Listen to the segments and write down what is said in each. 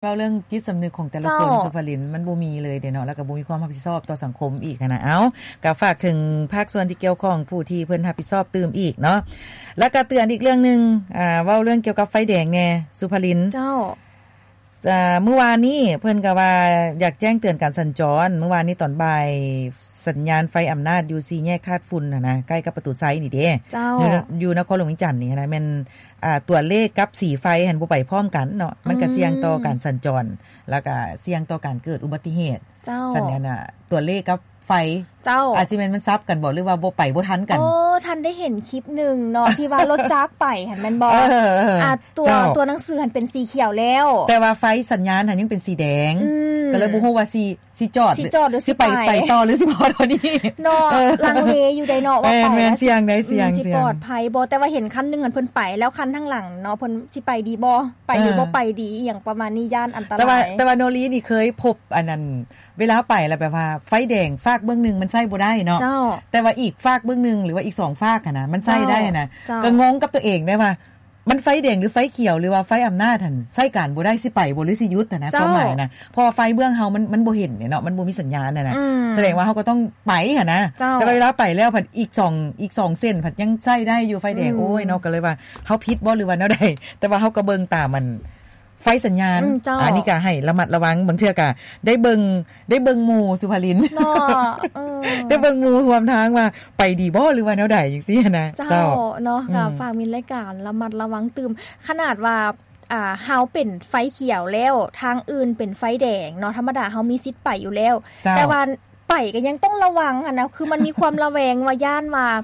ເວົ້າເລື່ອງຈິດສຳນຶກຂອງແຕ່ລະຄົນ ເຈົ້າ ສຸພາລິນ ມັນບໍ່ມີເລີຍເດ້ເນາະ ແລ້ວກໍບໍ່ມີຄວາມຮັບຜິດຊອບຕໍ່ສັງຄົມອີກຫັ້ນນະ. ເອົ້າ ກໍຝາກເຖິງພາກສ່ວນທີ່ກ່ຽວຂ້ອງ ຜູ້ທີ່ເພິ່ນຮັບຜິດຊອບຕື່ມອີກເນາະ ແລ້ວກໍເຕືອນອີກເລື່ອງໜຶ່ງ ອ່າ ເວົ້າເລື່ອງກ່ຽວກັບໄຟແດງແດ່ ສຸພາລິນ ເຈົ້າ. ອ່າ ມື້ວານນີ້ເພິ່ນກໍວ່າຢາກແຈ້ງເຕືອນການສັນຈອນ ມື້ວານນີ້ຕອນບ່າຍ ສັນຍານໄຟອຳນາດຢູ່ສີ່ແຍກທາດຝຸ່ນຫັ້ນນະ ໃກ້ກັບປະຕູໄຊນີ້ເດ້ ເຈົ້າ ຢູ່ ຢູ່ນະຄອນຫຼວງວຽງຈັນນີ້ຫັ້ນນະ ແມ່ນ ອ່າ ຕົວເລກກັບສີໄຟຫັ້ນບໍ່ໄປພ້ອມກັນເນາະ ມັນກໍສ່ຽງຕໍ່ການສັນຈອນ ແລ້ວກໍສ່ຽງຕໍ່ການເກີດອຸບັດຕິເຫດ ເຈົ້າ ສັນຍານ ຕົວເລກກັບໄຟ ເຈົ້າ ອາດຈະແມ່ນມັນສັບກັນບໍ ຫຼືວ່າບໍ່ໄປບໍ່ທັນກັນ. ໂອ້ ທັນໄດ້ເຫັນຄລິບໜຶ່ງເນາະ ທີ່ວ່າລົດຈັກໄປຫັ້ນແມ່ນບໍ່? ເອີ ເອີ ເອີ ອ່າ ຕົວ ເຈົ້າ ຕົວໜັງສືຫັ້ນເປັນສີຂຽວແລ້ວ ແຕ່ວ່າໄຟສັນຍານຫັ້ນຍັງເປັນສີແດງ ອືມ ກໍເລີຍບໍ່ຮູ້ວ່າຊິ ຊິຈອດ ຊິຈອດຫຼືຊິໄປ ຊິໄປ ໄປຕໍ່ຫຼືຊິພໍເທົ່ານີ້ເນາະ ເອີ ລັງເລຢູ່ໃດເນາະ ວ່າໄປແມ່ນ ແມ່ນ ແລ້ວຊິ ສ່ຽງໃດ ອືມ ສ່ຽງ ຊິປອດໄພບໍ່? ແຕ່ວ່າເຫັນຄັນໜຶ່ງຫັ້ນເພິ່ນໄປແລ້ວ ຄັນທາງຫຼັງເນາະ ເພິ່ນຊິໄປດີບໍ່ ໄປຫຼື ເອີ ບໍ່ໄປດີ ອີ່ຫຍັງປະມານນີ້ ຢ້ານອັນຕະລາຍ. ແຕ່ວ່າ ແຕ່ວ່າໂນລີນີ້ເຄີຍພົບອັນນັ້ນ ເວລາໄປແລ້ວແບບວ່າໄຟແດງຟາກເບື້ອງໜຶ່ງມັນໃຊ້ບໍ່ໄດ້ເນາະ ເຈົ້າ ແຕ່ວ່າອີກຟາກເບື້ອງໜຶ່ງ ຫຼືວ່າອີກສອງຟາກຫັ້ນນະ ມັນໃຊ້ໄດ້ຫັ້ນນະ ເຈົ້າ ກໍງົງກັບຕົວເອງໄດ້ວ່າ ມັນໄຟແດງຫຼືໄຟຂຽວ ຫຼືວ່າໄຟອຳນາດຫັ້ນ ໃຊ້ການບໍ່ໄດ້ ຊິໄປບໍ່ ຫຼືຊິຢຸດຫັ້ນນະ ເຈົ້າ ຄວາມໝາຍນະ ເພາະວ່າໄຟເບື້ອງເຮົາມັນ ມັນບໍ່ເຫັນເນາະ ມັນບໍ່ມີສັນຍານຫັ້ນນະ ອືມ ສະແດງວ່າເຮົາກໍຕ້ອງໄປຫັ້ນນະ ເຈົ້າ ແຕ່ວ່າເວລາໄປແລ້ວພັດອີກສອງ ອີກສອງເສັ້ນພັດຍັງໃຊ້ໄດ້ຢູ່ໄຟແດງ ອືມ ໂອ້ຍເນາະ ກໍເລີຍວ່າເຮົາຜິດບໍ່ ຫຼືວ່າແນວໃດ ແຕ່ວ່າເຮົາກໍເບິ່ງຕາມອັນໄຟສັນຍານ ອືມ ເຈົ້າ ອັນນີ້ກໍໃຫ້ລະມັດລະວັງ ບາງເທື່ອກໍໄດ້ເບິ່ງ ໄດ້ເບິ່ງໝູ່ ສຸພາລິນ ເນາະ ເອີ ໄດ້ເບິ່ງໝູ່ຮ່ວມທາງວ່າໄປດີບໍ່ ຫຼືວ່າແນວໃດຈັ່ງຊີ້ນະ ເຈົ້າ ເຈົ້າ ເນາະ ອືມ ກໍຝາກມິດລາຍການລະມັດລະວັງຕື່ມ ຂະໜາດວ່າ ອ່າ ເຮົາເປັນໄຟຂຽວແລ້ວ ທາງອື່ນເປັນໄຟແດງເນາະ ທຳມະດາເຮົາມີສິດໄປຢູ່ແລ້ວ ເຈົ້າ ແຕ່ວ່າໄປກໍຍັງຕ້ອງລະວັງຫັ້ນນະ ຄືມັນມີຄວາມລະແວງວ່າຢ້ານວ່າ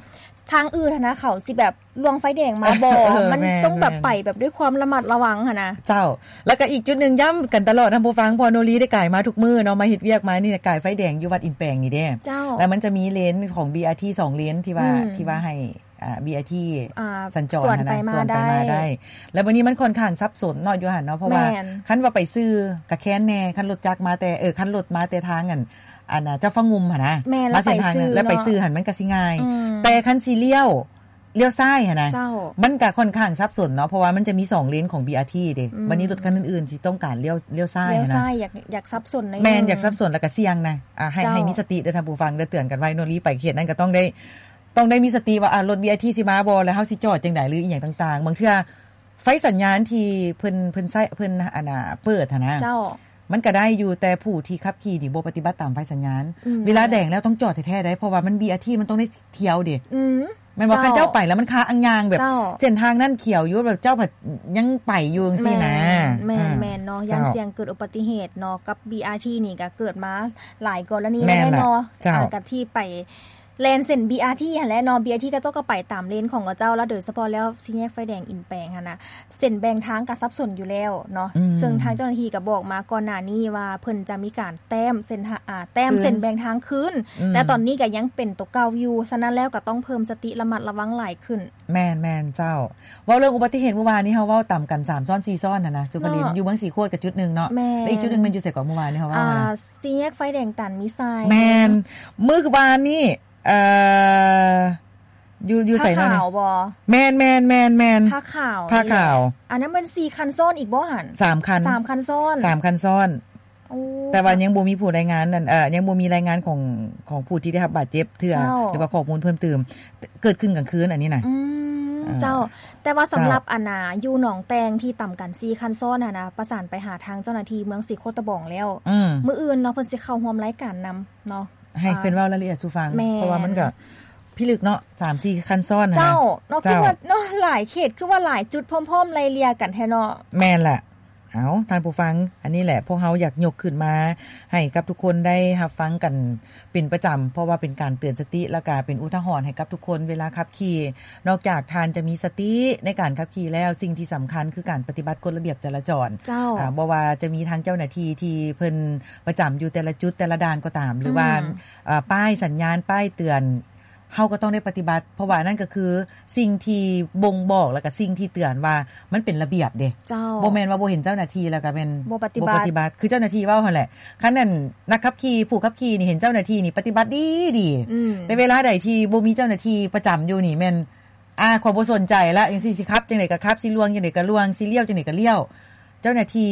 ທາງອື່ນຫັ້ນນະ ເຂົາຊິແບບ ລ່ວງໄຟແດງມາບໍ່ ເອີ ມັນ ແມ່ນ ຕ້ອງແບບ ແມ່ນ ໄປແບບດ້ວຍຄວາມລະມັດລະວັງຫັ້ນນະ ເຈົ້າ ແລ້ວກໍອີກຈຸດໜຶ່ງ ຢ້ຳກັນຕະຫຼອດທ່ານຜູ້ຟັງ ເພາະໂນລີໄດ້ກາຍມາທຸກມື້ເນາະ ມາເຮັດວຽກມານີ້ ກາຍໄຟແດງຢູ່ວັດອິນແປງນີ້ເດ້ ເຈົ້າ ແລ້ວມັນຈະມີເລນຂອງ ບີ ອາ ທີ ສອງເລນ ທີ່ວ່າ ອືມ ທີ່ວ່າໃຫ້ ອ່າ ບີ ອາ ທີ ອ່າ ສັນຈອນຫັ້ນນະ ສວນໄປມາ ສວນໄປມາໄດ້ ໄດ້ ແລ້ວບັດນີ້ມັນຂ້ອນຂ້າງສັບສົນເນາະ ຢູ່ຫັ້ນເນາະ ເພາະວ່າ ແມ່ນ ຄັນວ່າໄປຊື່ກະແຄ້ນແດ່ ຄັນລົດຈັກມາແຕ່ ເອີ ຄັນລົດມາແຕ່ທາງອັນ ອັນ ເຈົ້າຟ້າງຸ່ມຫັ້ນນະ ແມ່ນ ມາເສັ້ນທາງນັ້ນ ແລ້ວໄປຊື່ຫັ້ນ ມັນກໍຊິງ່າຍ ອືມ ແຕ່ຄັນຊິລ້ຽວ ລ້ຽວຊ້າຍຫັ້ນນະ ເຈົ້າ ມັນກະຂ້ອນຂ້າງສັບສົນເນາະ ເພາະວ່າມັນຈະມີສອງເລນຂອງ ບີ ອາ ທີ ເດ້ ອືມ ບັດນີ້ລົດຄັນອື່ນໆ ທີ່ຕ້ອງການລ້ຽວ ລ້ຽວຊ້າຍຫັ້ນນະ ລ້ຽວຊ້າຍ ຢາກ ຢາກສັບສົນໜ້ອຍໜຶ່ງ ແມ່ນ ຢາກສັບສົນ ແລ້ວກະສ່ຽງນະ ອ່າ ໃຫ້ ເຈົ້າ ໃຫ້ມີສະຕິເດີ້ທ່ານຜູ້ຟັງເດີ້ ເຕືອນກັນໄວ້ ໂນລີໄປເຂດນັ້ນກໍຕ້ອງໄດ້ ຕ້ອງໄດ້ມີສະຕິວ່າ ອ່າ ລົດ ບີ ອາ ທີ ຊິມາບໍ່ ແລ້ວເຮົາຊິຈອດຈັ່ງໃດ ຫຼືອີ່ຫຍັງຕ່າງໆ ບາງເທື່ອໄຟສັນຍານທີ່ເພິ່ນ ເພິ່ນໃຊ້ ເພິ່ນ ອັນນ່າ ເປີດຫັ້ນນະ ເຈົ້າ ມັນກະໄດ້ຢູ່ ແຕ່ຜູ້ທີ່ຂັບຂີ່ນີ້ບໍ່ປະຕິບັດຕາມໄຟສັນຍານ ອືມ ເວລາແດງແລ້ວຕ້ອງຈອດແທ້ໆ ໄດ໋ ເພາະວ່າມັນ ບີ ອາ ທີ ມັນຕ້ອງໄດ້ທ່ຽວເດ້ ອືມ ແມ່ນບໍ່ ເຈົ້າ ຄັນເຈົ້າໄປແລ້ວມັນຄາອັງຍາງແບບ ເຈົ້າ ເສັ້ນທາງນັ້ນຂຽວຢູ່ ແບບເຈົ້າພັດຍັງໄປຢູ່ຈັ່ງຊີ້ນະ ແມ່ນ ອືມ ແມ່ນເນາະ ຢ້ານ ເຈົ້າ ສ່ຽງເກີດອຸບັດຕິເຫດເນາະ ກັບ ບີ ອາ ທີ ນີ້ກະເກີດມາຫຼາຍກໍລະນີແລ້ວເນາະ ເຈົ້າ ອ່າ ກັບທີ່ໄປ ແລ່ນເສັ້ນ ບີ ອາ ທີ ຫັ້ນແຫຼະເນາະ ບີ ອາ ທີ ເຂົາເຈົ້າກໍໄປຕາມເລນຂອງເຂົາເຈົ້າ ແລ້ວໂດຍສະເພາະແລ້ວສີ່ແຍກໄຟແດງອິນແປງຫັ້ນນະ ເສັ້ນແບ່ງທາງກໍສັບສົນຢູ່ແລ້ວເນາະ ອືມ ເຊິ່ງທາງເຈົ້າໜ້າທີ່ກໍບອກມາກ່ອນໜ້ານີ້ວ່າ ເພິ່ນຈະມີການແຕ້ມເສັ້ນ ອ່າ ແຕ້ມເສັ້ນແບ່ງທາງຄືນ ອືມ ແຕ່ຕອນນີ້ກໍຍັງເປັນຕົວເກົ່າຢູ່ ສະນັ້ນແລ້ວກໍຕ້ອງເພີ່ມສະຕິລະມັດລະວັງຫຼາຍຂຶ້ນ. ແມ່ນໆ ເຈົ້າ ເວົ້າເລື່ອງອຸບັດຕິເຫດມື້ວານນີ້ ເຮົາເວົ້າຕຳກັນສາມຊ້ອນສີ່ຊ້ອນຫັ້ນນະ ສຸພາລິນ ເນາະ ຢູ່ເມືອງສີໂຄດກໍຈຸດໜຶ່ງເນາະ ແມ່ນ ແລະອີກຈຸດໜຶ່ງແມ່ນຢູ່ໃສເກາະ ມື້ວານນີ້ເຮົາເວົ້າ ອ່າ ຫັ້ນນະ ສີ່ແຍກໄຟແດງຕານມີຊາຍ ແມ່ນ ມື້ວານນີ້ ເອີ ຢູ່ ຢູ່ໃສເນາະ ຜ້າຂາວບໍ່? ແມ່ນໆໆໆ ຜ້າຂາວ ຜ້າຂາວ ອັນນັ້ນແມ່ນສີ່ຄັນຊ້ອນອີກບໍ່ຫັ້ນ? ສາມຄັນ ສາມຄັນຊ້ອນ ສາມຄັນຊ້ອນ ໂອ້ ແຕ່ວ່າຍັງບໍ່ມີຜູ້ລາຍງານນັ້ນ ເອີ ຍັງບໍ່ມີລາຍງານຂອງ ຂອງຜູ້ທີ່ໄດ້ຮັບບາດເຈັບເທື່ອ ເຈົ້າ ຫຼືວ່າຂໍ້ມູນເພີ່ມຕື່ມ ເກີດຂຶ້ນກາງຄືນອັນນີ້ນະ ອືມ ເອີ ເຈົ້າ ແຕ່ວ່າສຳລັບ ເຈົ້າ ອັນນ່າ ຢູ່ໜອງແຕ່ງທີ່ຕຳກັນສີ່ຄັນຊ້ອນຫັ້ນນະ ປະສານໄປຫາທາງເຈົ້າໜ້າທີ່ເມືອງສີໂຄດຕະບອງແລ້ວ ອືມ ມື້ອື່ນເນາະ ເພິ່ນຊິເຂົ້າຮ່ວມລາຍການນຳເນາະ ໃຫ້ເພິ່ນເວົ້າລາຍລະອຽດສູ່ຟັງ ແມ່ນ ເພາະວ່າມັນກໍພິລຶກເນາະ ສາມສີ່ຄັນຊ້ອນຫັ້ນນະ ເຈົ້າ ເນາະ ເຈົ້າ ຄືວ່າເນາະ ຫຼາຍເຂດ ຄືວ່າຫຼາຍຈຸດພ້ອມໆໄລ່ເລ່ຍກັນແທ້ເນາະ ແມ່ນແຫຼະ ເອົາ ທ່ານຜູ້ຟັງ ອັນນີ້ແຫຼະ ພວກເຮົາຢາກຍົກຂຶ້ນມາໃຫ້ກັບທຸກຄົນໄດ້ຮັບຟັງກັນເປັນປະຈຳ ເພາະວ່າເປັນການເຕືອນສະຕິ ແລ້ວກະເປັນອຸທາຫອນໃຫ້ກັບທຸກຄົນເວລາຂັບຂີ່ ນອກຈາກທ່ານຈະມີສະຕິໃນການຂັບຂີ່ແລ້ວ ສິ່ງທີ່ສຳຄັນຄືການປະຕິບັດກົດລະບຽບຈະລາຈອນ ເຈົ້າ ອາ ບໍ່ວ່າຈະມີທາງເຈົ້າໜ້າທີ່ທີ່ເພິ່ນປະຈຳຢູ່ແຕ່ລະຈຸດແຕ່ລະດ່ານກໍຕາມ ຫຼືວ່າ ອືມ ອາ ປ້າຍສັນຍານ ປ້າຍເຕືອນ ເຮົາກໍຕ້ອງໄດ້ປະຕິບັດ ເພາະວ່ານັ້ນກໍຄືສິ່ງທີ່ບົ່ງບອກ ແລ້ວກໍສິ່ງທີ່ເຕືອນວ່າມັນເປັນລະບຽບເດ້ ເຈົ້າ ບໍ່ແມ່ນວ່າບໍ່ເຫັນເຈົ້າໜ້າທີ່ແລ້ວກໍແມ່ນບໍ່ປະຕິບັດ ບໍ່ປະຕິບັດ ຄືເຈົ້າໜ້າທີ່ເວົ້າຫັ້ນແຫຼະ ຄັນນັ້ນນັກຂັບຂີ່ ຜູ້ຂັບຂີ່ນີ້ເຫັນເຈົ້າໜ້າທີ່ນີ້ປະຕິບັດດີໆ ອືມ ແຕ່ເວລາໃດທີ່ບໍ່ມີເຈົ້າໜ້າທີ່ປະຈຳຢູ່ນີ້ແມ່ນ ອາ ຂ້ອຍບໍ່ສົນໃຈລະ ຈັ່ງຊີ້ ຊິຂັບຈັ່ງໃດກໍຂັບ ຊິລ່ວງຈັ່ງໃດກໍລ່ວງ ຊິລ້ຽວຈັ່ງໃດກໍລ້ຽວ ເຈົ້າໜ້າທີ່